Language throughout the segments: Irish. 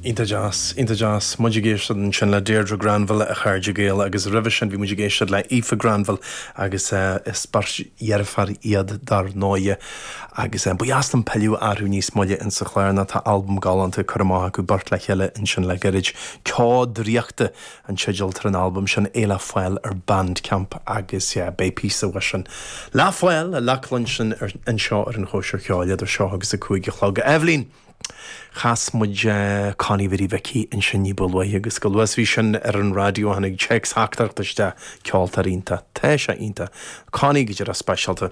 Iontach deas, iontach deas. Muid ag éisteacht ansin le Deirdre Granville, a chairde Gael, agus roimhe sin bhí muid ag éisteacht le Aoife Granville agus is beirt dheirféar iad dar ndóighe. Agus ba dheas liom pilleadh orthu níos moille insa chlár nó tá albam galánta curtha amach acu beirt le chéile ansin le gairid. Ceo Draíochta an teideal atá ar an albam sin, é le fáil ar Bandcamp agus beidh píosa uaidh sin le fáil, le cluinstin anseo ar an Chóisir Cheoil idir seo agus a 5 a chlog. Eibhlín! Chas muid Connie Bhiddy Mhicí ansin ní ba luaithe agus chomh luath is bhí sin ar an raidió tháinig téacs-theachtaireacht isteach, ceoltóir iontach. Tá sé iontach. Connie go díreach speisialta.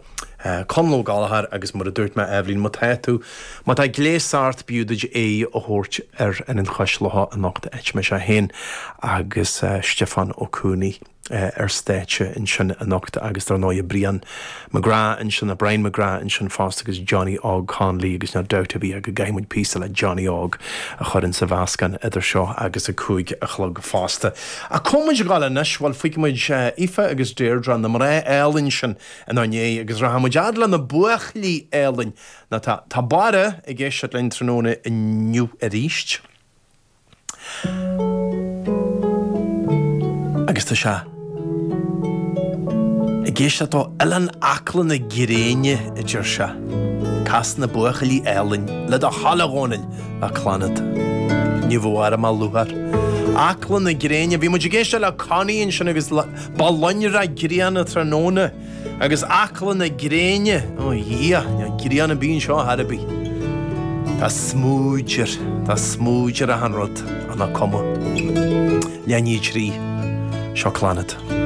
Conall Ó Gallchóir agus mar a dúirt mé Eibhlín, má tá tú, má tá gléas ort b'fhiú duit aghaidh a thabhairt ar Ionad Chois Locha anocht áit a mbeidh sé féin agus Stiofán Ó Cuanaigh. ar stáitse ansin anocht agus dar ndóighe Brian McGrath ansin, Brian McGrath ansin fosta agus Johnny Óg Connolly agus níl dabht ar bith ach go gcaithfidh muid píosa le Johnny Óg a chur insa mheascán idir seo agus a 5 a chlog fosta. Ach cá bhfuil muid ag dul anois? Bhuel fágfaidh muid Aoife agus Deirdre, na mná álainn sin inár ndiaidh agus rachaidh muid fhad le na buachaillí álainn nó tá tá Barra ag éisteacht linn tráthnóna inniu arís. Agus tá sé ag éisteacht ó Oileán Acla na Gréine, a deir sé. Cas na buachaillí álainn, le do thoil a Dhónaill, le Clannad. Ní bhfuair mé lúcháir. Acla na Gréine. Bhí muid ag éisteacht le Connie ansin agus ba lonrach grian tráthnóna. Agus Acla na Gréine, ó Dhia, níl grian ar bith anseo ar chor ar bith. Tá smúid ar, tá smúid ar achan rud, ach nach cuma. Leath i ndiaidh a 3, seo Clannad.